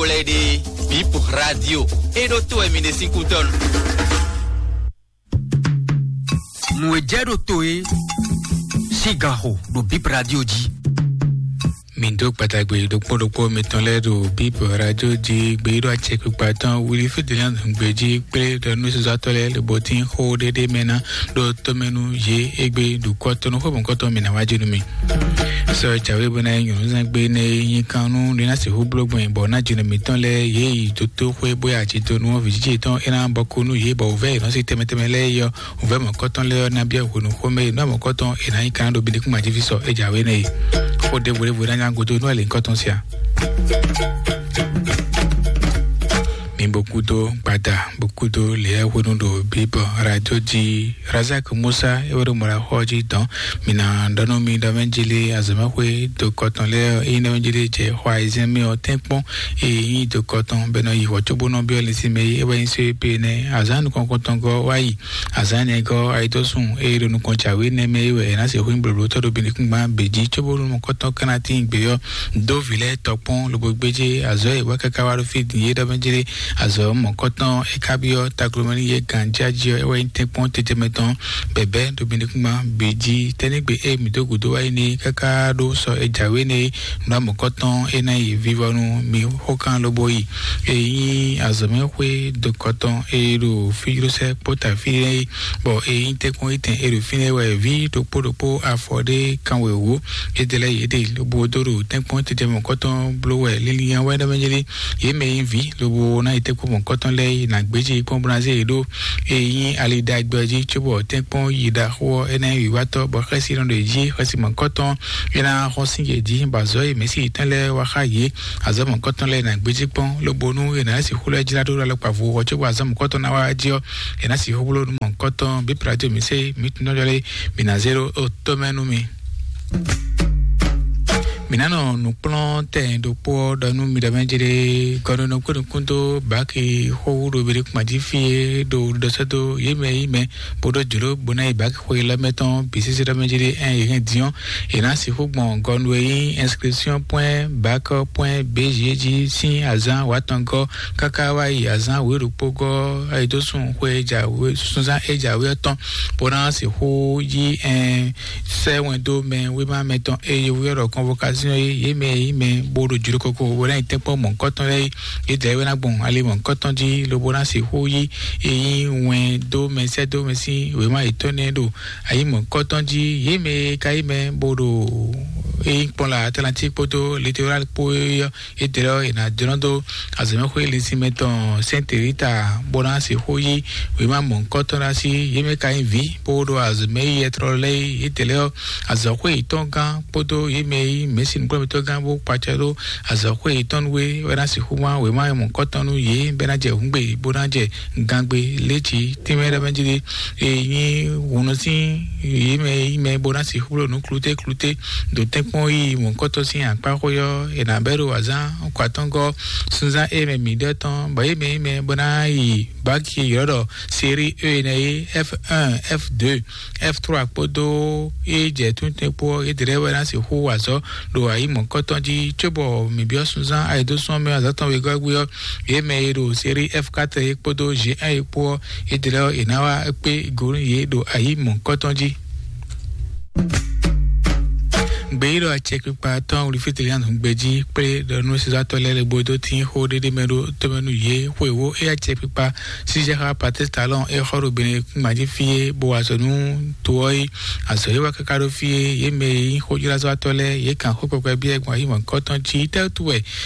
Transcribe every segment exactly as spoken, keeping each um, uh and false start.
Lɛ́ɛ ɖe, Bip Radio e ɖo to wɛ mi ɖe sín kútɔ́nu. Nǔ e jɛ ɖo to e sín gan xo ɖo Bip Radio jí. Mi dó kpatagbe ɖokpó ɖokpó mitɔn lɛ́ɛ ɖo Bip Radio jí, gbeyíɖɔ acɛkpikpa tɔn wuli fídílíɔn gbé jí kplé ɖɔ nú sɔzɔtɔ́ lɛ́ɛ lobɔ tín xó ɖéɖé mɛ ná ɖo tɔmɛ nú yě égbé ɖo kɔ́tɔ́nú xó mɔ̌kɔtɔn mi ná wá jí nú mi. Sɔ jǎwe bó ná nyí nyɔ̌nuzán gbé nɛ́ e nyí kan nú ní ná sixú bló gbɔn bɔ ná jǐnɔ mǐtɔn lɛ́ɛ yě yi dótó xwé bó ya jǐ dó nú vǐ jiji tɔn é ná bɔ kú nú yě bɔ wǔvɛ́ yě nɔ sí tɛmɛ tɛmɛ lɛ́ɛ yɔ. Wǔvɛ́ mɔ̌kɔtɔn lɛ́ɛ ɔ́ ná byɔ́ hwenu xomɛ e nǔ mɔ̌kɔtɔn è nǎ nyí kan ɖo bǐ ní kún majífísɔ é jǎwe nɛ́ e. Xó ɖěvo ɖěvo ná nyá godo nú ɛlǐnkɔtɔn sia. Mi bó kúdó gbada bó kúdó lě hwenu ɖo bíbɔ radio jí. Razak Musa é wɛ ɖo mɔɖaxɔ jí dɔn. Mi ná ɖɔ nú mi ɖɔ mɛ jí lé azɔ̌mɛxwé do kɔtɔn lɛ́ɛ ɔ́, ényí ɖɔ mɛ jí lé jɛ xɔ ayizɛ́n mɛ ɔ́ tɛ́nkpɔ́n ényí do kɔtɔn bɛ nɔ yi xɔ cóbó nɔ byɔ́ lɛ́sí mɛ é wɛ nyí só é pé nɛ́ azǎn nukɔn kɔntɔn gɔ́ wá yi. Azǎn nɛ́ gɔ́ ayidɔ́sùn é ɖo nukɔn jǎwe nɛ́ mɛ é wɛ é ná sixú nyí blǒblótɔ́ ɖo bǐnikúngban bǐ jí cóbó nú mɔ̌kɔtɔn ká ná tín gbě ɔ́ dó vǐ lɛ́ɛ tɔkpɔn lobo gbéjé azɔ̌ e wá káká wá ɖo fí din é ɖɔ mɛ jí lé. Azɔ̌ mɔ̌kɔtɔn é ká byɔ́ taklomɛ nú yě ganjíájí ɔ́ é wɛ nyí tɛ́nkpɔ́n tɛtɛmɛ tɔn bɛ̌bɛ́ ɖo bǐnikúngban bǐ jí. Tɛ́nígbe e mǐ dó gǔdo wá yi n'i káká ɖó sɔ e jǎwe nɛ́ é nǔ amɔ̌kɔtɔn é ná yi vivɔnu mi xókan lobo yi. E nyí azɔ̌mɛxwé dokɔtɔn e ɖo fíjlósɛ kpóta fínɛ́ é, bɔ e nyí tɛ́nkpɔ́n etɛn e ɖo fínɛ́ wɛ ví ɖokpó ɖokpó afɔ ɖé kanwewǒ. Édɛlɛ́ yě ɖe lobo dó ɖo tɛ́nkpɔ́n tɛtɛ mɔ̌kɔtɔn bló wɛ lílínyá wɛ ɖɔ mɛ nyí lé. Yě mɛ e nyí vǐ lobo ná yi tɛ́nkpɔ́n mɔ̌kɔtɔn lɛ́ɛ yi nǎ gbéjé kpɔ́n bó ná zé yě ɖó. E nyí ali ɖagbe ɔ́ jí cóbɔ tɛ́nkpɔ́n yi ɖaxó ɔ́ é ná nyí wǐwátɔ́ bɔ xɛ́si nɔ ɖo yě jí xɛsi mɔ̌kɔtɔn é ná xɔ́n sín yě jí bɔ azɔ̌ e mɛ̌si yětɔn lɛ́ɛ wá xá yě. Azɔ̌ mɔ̌kɔtɔn lɛ́ɛ ná gbéjé kpɔ́n lobo nú è nǎ sixú lɛ́ jlá ɖó ɖo alɔkpa vo ɔ́ cóbɔ azɔ̌ mɔ̌kɔtɔn ná wá jí ɔ́, è nǎ sixú bló nú mɔ̌kɔtɔn bí Pilato mǐ se mǐ tunɔjɔ lé mǐ ná zé ɖó tó mɛ nú mi. Mǐ ná nɔ nǔkplɔ́ntɛn ɖokpó ɔ́ ɖɔ nú mi ɖɔ mɛ jí ɖé gɔ́núnɔ kpé nukún dó bǎki xówú ɖo Birikumati fí é ɖo ɖɔsɛ́ dó yě mɛ yí mɛ bó ɖó jlǒ bó ná yi bǎki xwe lɛ́ mɛ tɔn bǐ sésé ɖɔ mɛ jí ɖé ɛn yě hɛn din ɔ́, è nǎ sixú gbɔn gɔnu e nyí inscription point bac point B G jí sín azǎn wǎtɔngɔ́ káká wá yi azǎn wěɖokpógɔ́ ayidósùn xwe jǎwe súnzán é jǎwe ɔ́ tɔn, bó ná sixú yí ɛn sɛ́ wɛn dó mɛ wéma mɛtɔn e yovó ɔ́ ɖɔ convocation é yě mɛ e nyí mɛ bó ɖo jló koko bó ná yi tɛ́nkpɔ́n mɔ̌hunkɔtɔn lɛ́ɛ é. Yědɛɛ wɛ ná gbɔn ali mɔ̌hunkɔtɔn jí lobo ná sixú yí e nyí wɛn dó mɛ sɛ́ dó mɛ sín wěma yětɔn nɛ́ ɖo ayǐ mɔ̌hunkɔtɔn jí. Yě mɛ e ka nyí mɛ bó ɖo e nyí kpɔ́n la Atlantique kpódó Littoral kpó é ɔ́, yědɛɛ ɔ́ è nǎ jlɔ́ dó azɔ̌mɛxwé linsin mɛ tɔn Sainte Rita bó ná sixú yí wěma mɔ̌hunkɔtɔn ɖó así. Yě mɛ ka nyí vǐ bó ɖo azɔ̌mɛ yi ɛtrɔ lɛ́ɛ é. Yědɛɛ ɔ́ azɔ̌xwé yětɔn gán kpódó yě mɛ e nyí mɛ̌si nukplɔ́nmɛtɔ́ gán bó kpacɛ ɖó azɔ̌xwé yětɔn nú é wɛ ná sixú wán wěma mɔ̌hunkɔtɔn nú yě bɔ é ná jɛ hǔngbe bó ná jɛ gangbe léjǐ tínmɛ ɖɔ mɛ jí ɖé. E nyí hunɔ sín yě mɛ e nyí mɛ bó ná sixú bló nǔ kluté kluté ɖo tɛ́nkpɔ́n yi mɔ̌hunkɔtɔn sín akpá xwé ɔ́, è nǎ bɛ́ ɖo azǎn kɔ atɔ́ngɔ́ súnzán e mɛ mǐ ɖɔ tɔn bɔ yě mɛ e nyí mɛ bó ná yi báki e ylɔ́ ɖɔ série E nɛ́ é, F un, F deux, F trois kpódó é jɛ túntɛn kpó ɔ́, yědɛɛ wɛ ná sixú wa azɔ̌ ɖo ayǐ mɔ̌hunkɔtɔn jí, cóbɔ mǐ byɔ́ súnzán ayǐdósúnmɛ azǎn tɔn wegɔ́ gbé ɔ́, yě mɛ e ɖo série F quatre é kpódó G un é kpó ɔ́, yědɛɛ ɔ́, è nǎ wá kpé go nú yě ɖo ayǐ mɔ̌hunkɔtɔn jí. Gbeyíɖɔ acɛkpikpa tɔn wlifíteli ná nǔgbé jí kplé ɖɔ nú sezatɔ́ lɛ́ɛ lɛ́ɛ bó dó tín xó ɖéɖé mɛ ɖó tɔmɛ nú yě. Xwewó é acɛkpikpa Sísɛ́ xá Patɛ́stalɔ́n é xɔ ɖo Benekúngbǎjí fí é, bó wa azɔ̌ nú to ɔ́ é. Azɔ̌ é wá káká ɖó fí é, yě mɛ e nyí xójlázɔ́watɔ́ lɛ́ɛ, yě kan xó kpɛkpɛ byɔ́ gbɔn ayǐ mɔ̌hunkɔtɔn jí. Tɛ́ wútu wɛ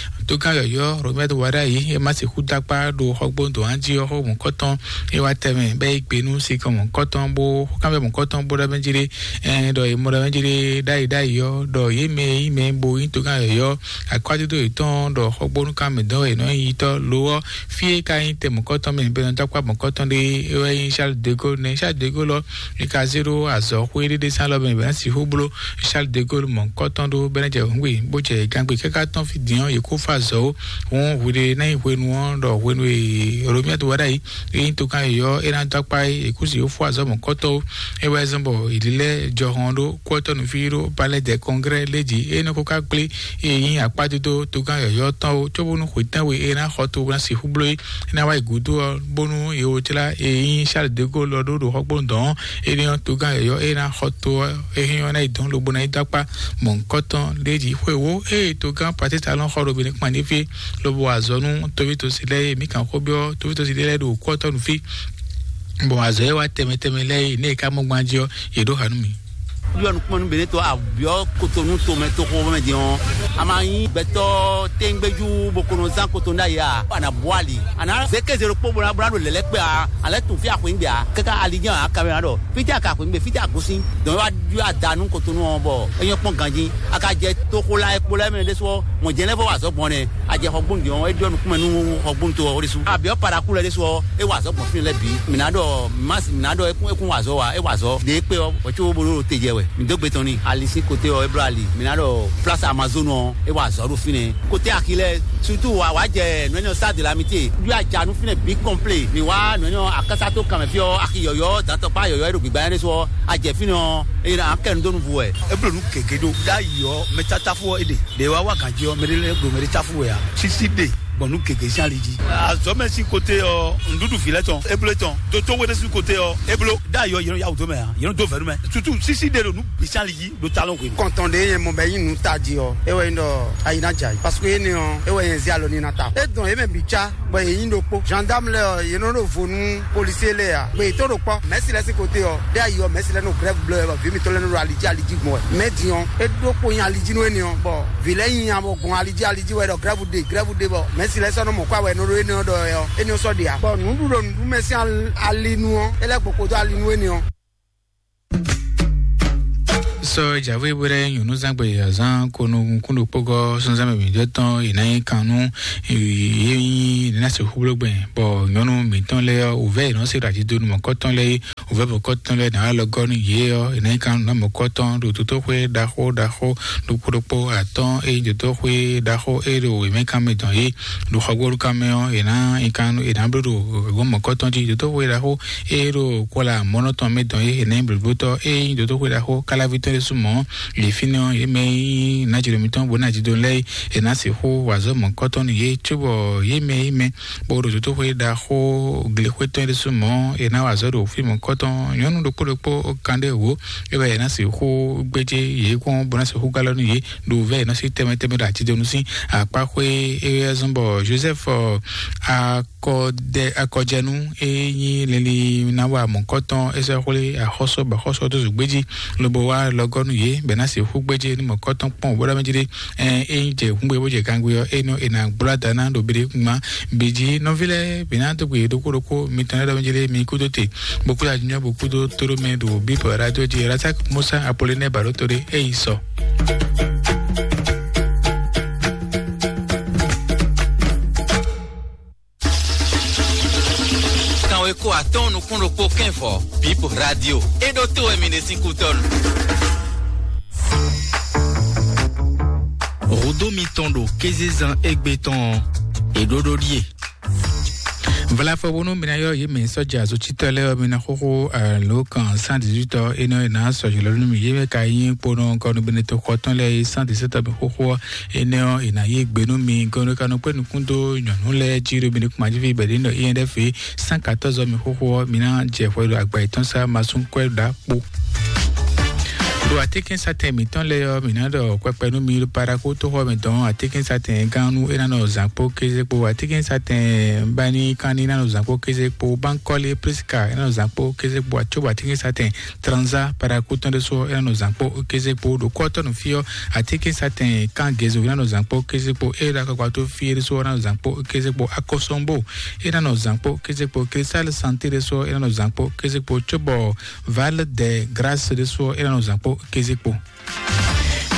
tógán yɔ̌yɔ́ Romɛ́ɛ wá ɖ'ayǐ é ma sixú dó akpá ɖo xɔgbónu dɔ̌n jí ɔ́ xó mɔ̌hunkɔtɔn é wá tɛnmɛ, bɔ é gbe nú sinkɔn mɔ̌hunkɔtɔn bó xókanbyɔ́ mɔ̌hunkɔtɔn bó ɖɔ mɛ jí ɖé, ɛn ɖɔ è mɔ ɖɔ mɛ jí ɖé ɖ'ayǐ ɖ'ayǐ ɔ́, ɖɔ yě mɛ e nyí mɛ bo nyí tógán yɔ̌yɔ́ akwádodo yětɔn ɖɔ xɔgbónu kan mɛ dɔn wɛ è nɔ nyí yitɔ́ lo ɔ́, fí e ka nyí tɛ mɔ̌kɔtɔn mɛ bɛnɛ dó akpá mɔ̌kɔtɔn ɖé é wɛ nyí Charles de Gaulle nɛ́. Charles de Gaulle ɔ́, é ka zé ɖó azɔ̌xwé ɖé ɖé sín alɔ mɛ bɛnɛ sixú bló Charles de Gaulle mɔ̌kɔtɔn ɖó bɛnɛ jɛ hǔngbe bó jɛ gangbe káká tɔn fí din ɔ́, yě kó fá azɔ̌ ó. Hǔn hwiɖe ná nyí hwenu ɔ́ ɖɔ hwenu e Romiato wá ɖ'ayǐ, é nyí togán yɔ̌yɔ́ é ná dó akpá é, è kú si ó fó azɔ̌ mɔ̌kɔ́tɔ́ ó. É wɛ zɔ́n bɔ è lilɛ́ jɔhɔn ɖó kú ɔ́ tɔn nǔví ɖó Palais des Congrès lé jí, é nɔ ko ká kplé é nyí akpá dó togán yɔ̌yɔ́ tɔn ó, cóbónú xwetɛ́nwe é ná xɔ to ná sixú bló é. É ná wá yi gǔdo ɔ́, bónú è wǒ jlá é nyí Charles de Gaulle ɔ́ ɖó ɖo xɔgbónu dɔn ɔ́, énɛ́ ɔ́, togán yɔ̌yɔ́ é ná xɔ to ɔ́, é hɛn ɔ́ ná yi dɔn lobo ná yi dó akpá mɔ̌hunkɔtɔn ɖ'é jí. Xwewǒ ée togán Patrice Talon xɔ ɖo Benin kpán ɖé fí, lobo wa azɔ̌ nú tovítɔ́si lɛ́ɛ e mǐ kan xó byɔ́ tovítɔ́si lɛ́ɛ ɖo kú ɔ́ tɔn nú fí, bɔ azɔ̌ e wá tɛnmɛ tɛnmɛ lɛ́ɛ e nɛ́ e ká mɔ gbán jí ɔ́, yě ɖó ha nú mì. Yɔ nukúnmɛ nú Benito abyɔ Kotonu tomɛ toxo mɛ din ɔ́, a ma nyí gbɛtɔ́ tɛngbɛjú bó kono zán Kotonu ɖ'ayǐ a? A nǎ bú ali, a nǎ zé kéze ɖokpó bó ná bó ná ɖo lɛ̌lɛ́ kpé a? A lɛ́ tunwun fí axwǐngbè a? Káká ali jɛ́n a kamɛ ná ɖɔ fítɛ́ a ka axwǐngbè, fítɛ́ a gosín. Dɔn é wá ɖyɔ́ ada nú Kotonu ɔ́ bɔ é nyɔ́ kpɔ́n ganjí. A ka jɛ toxo la e kpo lɛ́ɛ mɛ ɖésú ɔ́, mɔ̌ jɛ́n lɛ́ vɔ wa azɔ̌ gbɔn nɛ́. A jɛ xɔgbónu din ɔ́, é ɖɔ nukúnmɛ nú xɔgbónu to ɔ́ ɖésú. Abyɔ paɖaku lɛ́ɛ ɖésú ɔ́, é wa azɔ̌ gbɔn fínɛ́ lɛ́ɛ bǐ. Mǐ ná ɖɔ mas, mǐ ná ɖɔ é kún é kún wa azɔ̌ wa, é wa azɔ̌. Ɖě kpé ɔ́, wɛ̌ có bó ɖó te jɛ wɛ. Mǐ dó gbe tɔn n'i. Ali sín kote ɔ́, é bló ali. Mǐ ná ɖɔ place Amazone ɔ́, é wa azɔ̌ ɖo fínɛ́. Kote axi lɛ́ɛ, surtout wa wa jɛ nǔ énɛ́ ɔ́ Stade de l'Amitié. Ɖó aja nú fínɛ́ bǐ complet. Mǐ wá nǔ énɛ́ ɔ́ akásá tó kanmɛ fí ɔ́, axi yɔ̌yɔ́, dantɔkpá yɔ̌yɔ́ e ɖo gbǐgbá nyanya ɖésú ɔ́, a jɛ fínɛ́ ɔ́, é ná kɛ nǔ dó nǔ vú wɛ. É bló nǔ gěgé ɖó. Ɖ'ayǐ ɔ́, mɛ tátáfú ɔ́ é ɖe. Ɖě wá wá gǎn jí ɔ́, mɛ ɖé lɛ́ɛ ɖo mɛ ɖé táfú wɛ ǎ. Sísí ɖe gbɔn nú gěgé sín ali jí. Azɔ̌ mɛ sín kote ɔ́, nǔɖuɖu vǐ lɛ́ɛ tɔn, é bló é tɔn. Dotó we ɖé sín kote ɔ́, é bló. Ɖ'ayǐ ɔ́, yě nɔ yá wǔ dó mɛ ǎ. Yě nɔ dó vɛ̌ nú mɛ. Sutu sísí ɖe ɖo nǔ bǐ sín ali jí ɖo talɔn hwenu. Kɔntɔn ɖé nyɛ mɔ bɔ é nyí nǔ tají ɔ́, é wɛ nyí ɖɔ ayi ná jɛ ayǐ. Parce que énɛ́ ɔ́, é wɛ nyɛ zé alɔ ní ná ta. É dɔn yě mɛ bǐ cá, bɔ yě nyí ɖokpó. Gendarme lɛ́ɛ ɔ́, yě nɔ ɖo vo nú policier lɛ́ɛ ǎ. Gbé yětɔn ɖo kpɔ́, mɛ̌si lɛ́ɛ sín kote ɔ́, ɖé ayi ɔ́, mɛ̌si lɛ́ɛ nɔ grève bló wɛ, bɔ vǐ mǐtɔn lɛ́ɛ nɔ ɖo ali jí ali jí gbɔn wɛ. Mɛ̌ din ɔ́, é ɖokpó nyí ali jí nú énɛ́ ɔ́, bɔ vǐ lɛ́ɛ nyi nya bɔ gbɔn ali jí ali jí wɛ ɖɔ grève ɖe, grève ɖe, bɔ mɛ̌si lɛ́ɛ sɔ́ nɔ mɔ kó awɛ nɔ ɖo énɛ́ ɔ́ ɖɔ wɛ ɔ́, énɛ́ ɔ́ sɔ́ ɖe ǎ. Bɔ nǔɖuɖu nǔɖumɛ sín al-, ali nu ɔ́, é lɛ́ gboko dó ali nú énɛ́ ɔ́. Sɔ jǎwe bó ɖɛ́ nyɔ̌núzán gbe azán ko nukúnnú kpógɔ́ súnzán mɛ mǐtɔn tɔn è nǎ nyí kan nú yě nyí nǎ sixú bló gbɛn, bɔ nyɔ̌nu mǐtɔn lɛ́ɛ ɔ́, wǔvɛ́ è nɔ́ se ɖo ajídonu mɔ̌kɔ́tɔn lɛ́ɛ é, wǔvɛ́ mɔ̌kɔ́tɔn lɛ́ɛ nǎ wá lɔ gɔ́ nú yě ɔ́, è nǎ nyí kan nú nǎ mɔ̌kɔ́tɔn ɖo tótóxwé ɖaxó ɖaxó ɖokpó ɖokpó atɔ́ɔ́n é nyí tótóxwé ɖaxó é ɖo wěmɛ́kánmɛ dɔn é ɖo xɔgbóɖukanmɛ ɔ́, è nǎ nyí kan nú è nǎ bló ɖo gɔ̌n mɔ̌kɔ́tɔn jí tótóxwé ɖaxó é ɖo kɔlá mɔ̌nɔtɔn mɛ dɔn é è nǎ nyí blǒblótɔ́ é nyí tótóxwé ɖaxó káláví tɔn ɖésú mɔ̌. Yě fínɛ́ ɔ́, yě mɛ e nyí nǎjlɔ́ mǐtɔn bó ná jidɔn lɛ́ɛ é, è nǎ sixú wa azɔ̌ mɔ̌kɔ́tɔn nú yě, cóbɔ yě mɛ e nyí mɛ bó ɖo tótóxwé ɖaxó glexwé tɔn é ɖésú mɔ̌, è nǎ wa azɔ̌ ɖo fí mɔ̌kɔ́tɔn. Nyɔ̌nu ɖokpó ɖokpó kan ɖé wǒ, é wɛ è nǎ sixú gbéjé yě kpɔ́n bó ná sixú gálɔ́ nú yě ɖo vɛ̌ è nɔ sí tɛnmɛ tɛnmɛ ɖo ajidonu sín akpáxwé. É wɛ zɔ́n bɔ Joseph, ɔ, akɔdɛ akɔjɛnu e nyí lili ná wa mɔ̌kɔ́tɔn é sɔ́ xwlé axɔ́sɔ bɔ axɔ́sɔ dó zǒgbé jí lobo wá lɔgɔ́ nú yě bɔ è nǎ sixú gbéjé nú mɔ̌kɔ́tɔn kpɔ́n bó ɖɔ mɛ jí ɖé. Ɛ é nyí jɛ hǔngbé bó jɛ gangbé ɔ́, é nɔ è nǎ gbló ada ná ɖo biɖé gbán. Bǐ jí nɔví lɛ́ɛ, bǐ ná dó gbe yě ɖokpó ɖokpó mitɔn lɛ́ɛ ɖɔ mɛ jí ɖé mi kúdó te bó kúdó ajínjɔ́n bó kúdó tóɖó mɛ ɖo bíbɔ radio jí Razak Musa Apollinaire Balotori é yi sɔ. Kanwe kó atɔ́ɔ́n nukún ɖokpó kɛ́nvɔ Bib Radio. É ɖó tó wɛ mi ɖe sín kútɔ́nu. Hǔdó mitɔn ɖo kézezán égbé tɔn ɔ́, è ɖó ɖó ɖíe. Vlafɔ bónú mi ná yɔ yě mɛ sɔ́ja azɔ̌tsitɔ́ lɛ́ɛ ɔ́, mi ná xóxó alo kan cent dix-huit ɔ́, énɛ́ ɔ́, è nǎ sɔ́ jǐ lɔ nú mi. Yě mɛ ka nyí kponɔ gɔnubɛnɛtɔ́ xɔtɔn lɛ́ɛ é cent dix-sept ɔ́ mi xóxó ɔ́, énɛ́ ɔ́, è nǎ yí gbe nú mi. Gɔnubɛnɛtɔ́ ka nɔ kpé nukún dó nyɔ̌nu lɛ́ɛ jí ɖo mi nukún majíví bɛ̌ ɖě nɔ I N F é cent quatorze ɔ́ mi xóxó ɔ́, mi ná jɛ hwɛ ɖo agba yětɔn sá masún kwɛ́ ɖo akpo. Ɖo atínkɛnsatɛn mǐtɔn lɛ́ɛ ɔ́, mǐ ná ɖɔ kpɛkpɛ nú mi ɖo Paraku toxo ɔ́ mɛ dɔn atínkɛnsatɛn gán nú é ná nɔ zǎn kpó kéze kpó, atínkɛnsatɛn bani kán ní ná nɔ zǎn kpó kéze kpó, Bankɔli Priska é ná nɔ zǎn kpó kéze kpó, acóbɔ atínkɛnsatɛn Tranza Paraku tɔn ɖésú ɔ́ é ná nɔ zǎn kpó kéze kpó, ɖo kɔ́tɔ́ nú fí ɔ́ atínkɛnsatɛn kán Gezo é ná nɔ zǎn kpó kéze kpó, é ɖo akɔkpa tó fí é ɖésú ɔ́ é ná nɔ zǎn kpó kéze kpó, Akɔsɔnbo é ná nɔ zǎn kpó kéze kpó, Cristal Santé ɖésú ɔ́ é ná nɔ zǎn kpó kéze kpó, cóbɔ Val de Grâce ɖésú ɔ́ é ná nɔ zǎn kpó kéze kpó.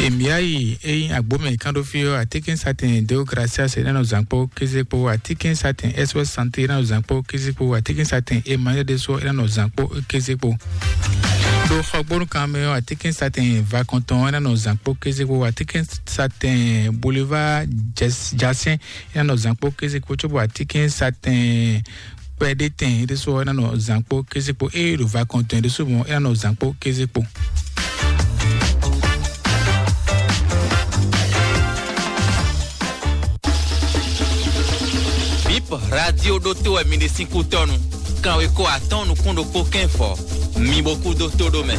Emiayi é nyí agbómɛ kánɖófí ɔ́, atínkɛnsatɛn Deo Gracias é ná nɔ zǎn kpó kéze kpó, atínkɛnsatɛn S O S Santé é ná nɔ zǎn kpó kéze kpó, atínkɛnsatɛn Emmanuel ɖésú ɔ́ é ná nɔ zǎn kpó kéze kpó. Xɔgbónu kan mɛ ɔ́, atínkɛnsatɛn Vakɔntɔn é ná nɔ zǎn kpó kéze kpó, atínkɛnsatɛn Boulevard Jas- Jasɛn é ná nɔ zǎn kpó kéze kpó, cóbɔ atínkɛnsatɛn Kpɛɖétɛn é ɖésú ɔ́ é ná nɔ zǎn kpó kéze kpó, ée ɖo Vakɔntɔn é ɖésú mɔ̌ é ná nɔ zǎn kpó kéze kpó. Bip Radio ɖótó wɛ mi ɖe sín kútɔ́nu. Kanwekó atɔ́ɔ́n nukún ɖokpó kɛ́n fɔ. Mi bo kúdó tó ɖó mɛ.